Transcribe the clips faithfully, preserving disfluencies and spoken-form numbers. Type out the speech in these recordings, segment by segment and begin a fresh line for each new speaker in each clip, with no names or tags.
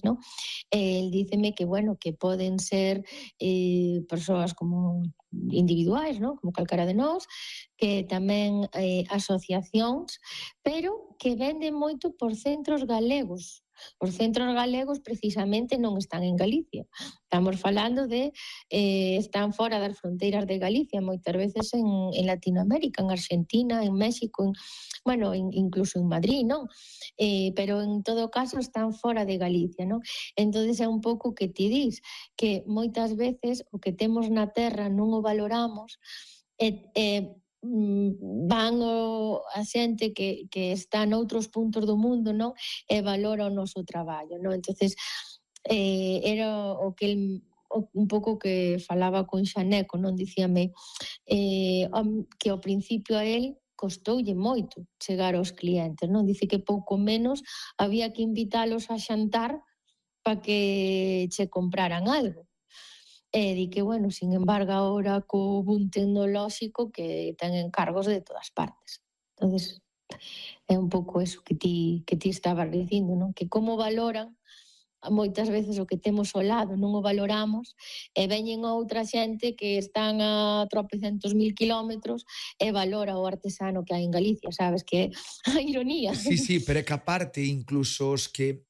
non? E el díceme que, bueno, que poden ser eh, persoas como individuais, non? Como calcara de nós, que tamén eh, asociacións, pero que venden moito por centros galegos. Os centros galegos precisamente non están en Galicia. Estamos falando de, eh, están fora das fronteiras de Galicia, moitas veces en, en Latinoamérica, en Argentina, en México, en, bueno, in, incluso en Madrid, non? Eh, pero en todo caso están fora de Galicia, non? Entonces é un pouco que ti dis, que moitas veces o que temos na terra non o valoramos e, e van o, a xente que, que está noutros puntos do mundo, non? E valora o noso traballo, non? Entonces, eh, era o que el, o, un pouco que falaba con Xaneco, non? Dicíame eh, que ao principio a él costoulle moito chegar aos clientes, non? Dice que pouco menos había que invitalos a xantar para que che compraran algo. E di que, bueno, sin embargo, agora co boom tecnolóxico que ten encargos de todas partes. Entonces, é un pouco eso que ti, que ti estabas dicindo, non? Que como valoran moitas veces o que temos ao lado, non o valoramos, e veñen outra xente que están a tropecientos mil kilómetros e valora o artesano que hai en Galicia, sabes? Que é a ironía.
Sí, sí, pero é que aparte, incluso os que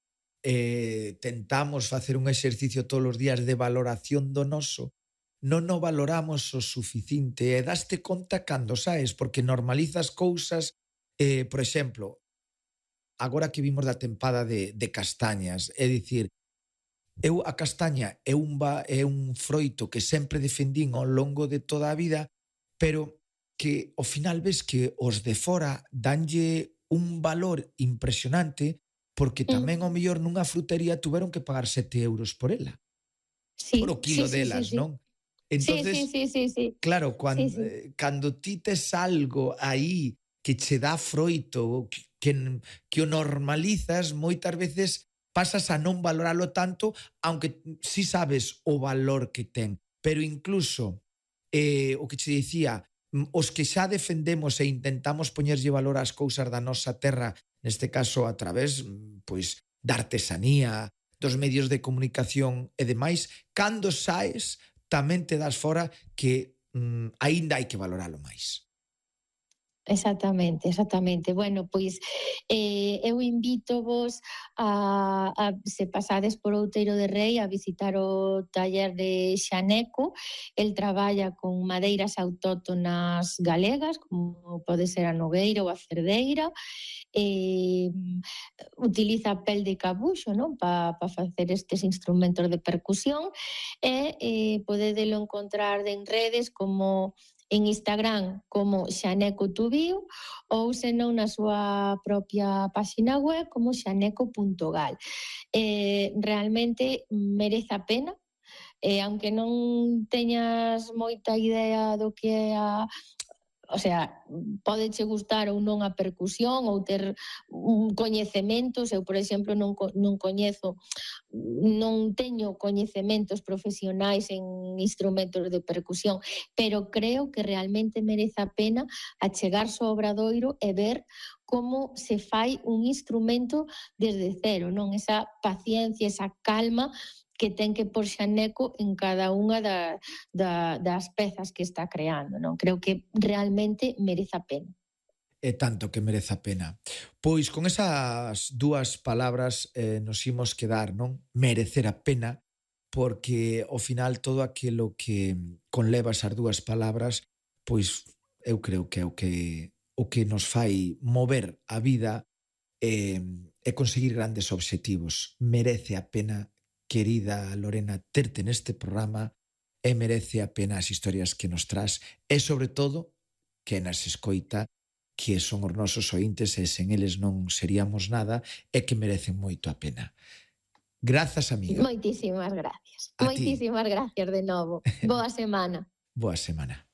eh, tentamos facer un exercicio todos os días de valoración do noso, non o valoramos o suficiente e daste conta cando, sabes? Porque normalizas cousas, eh, por exemplo, agora que vimos da tempada de, de castañas, é dicir, eu a castaña é un, ba, é un froito que sempre defendín ao longo de toda a vida, pero que ao final ves que os de fora danlle un valor impresionante porque tamén ao mellor nunha frutería tuveron que pagar sete euros por ela.
Sí,
por o kilo
sí,
delas,
sí, sí,
non? Entonces,
sí, sí, sí, sí, sí.
claro, cando,
sí, sí.
eh, cando ti tes algo aí que che dá froito, que, que, que o normalizas, moitas veces pasas a non valoralo tanto, aunque si sabes o valor que ten. Pero incluso, eh, o que che dicía, os que xa defendemos e intentamos poñerlle valor ás cousas da nosa terra, neste caso a través pois, da artesanía, dos medios de comunicación e demais, cando saes tamén te das fora que mm, aínda hai que valoralo máis.
Exactamente, exactamente. Bueno, pois eh, eu invito vos a, a se pasades por Outeiro de Rei a visitar o taller de Xaneco. El traballa con madeiras autóctonas galegas, como pode ser a nogueira ou a cerdeira. Eh, utiliza pel de cabuxo, non? Para pa facer estes instrumentos de percusión e eh, podedelo encontrar en redes como en Instagram como Xaneco Tubío ou senón na súa propia páxina web como xaneco punto gal. Eh, realmente merece a pena, eh, aunque non teñas moita idea do que é a... O sea, podeche gustar ou non a percusión ou ter un coñecementos. Eu, por exemplo, non, non coñezo, non teño coñecementos profesionais en instrumentos de percusión, pero creo que realmente merece a pena achegarse ao Obradoiro e ver como se fai un instrumento desde cero, non? Esa paciencia, esa calma que ten que por Xaneco en cada unha da, da, das pezas que está creando, non? Creo que realmente merece a pena.
É tanto que merece a pena. Pois con esas dúas palabras eh, nos imos quedar, non? Merecer a pena, porque ao final todo aquilo que conleva esas dúas palabras, pois eu creo que é o que, o que nos fai mover a vida e, e conseguir grandes obxectivos. Merece a pena, querida Lorena, terte neste programa e merece a pena as historias que nos tras e, sobre todo, que nas escoita, que son os nosos ointes e sen eles non seríamos nada e que merecen moito a pena. Grazas, amiga.
Moitísimas gracias.
A
Moitísimas
ti.
gracias de novo. Boa semana.
Boa semana.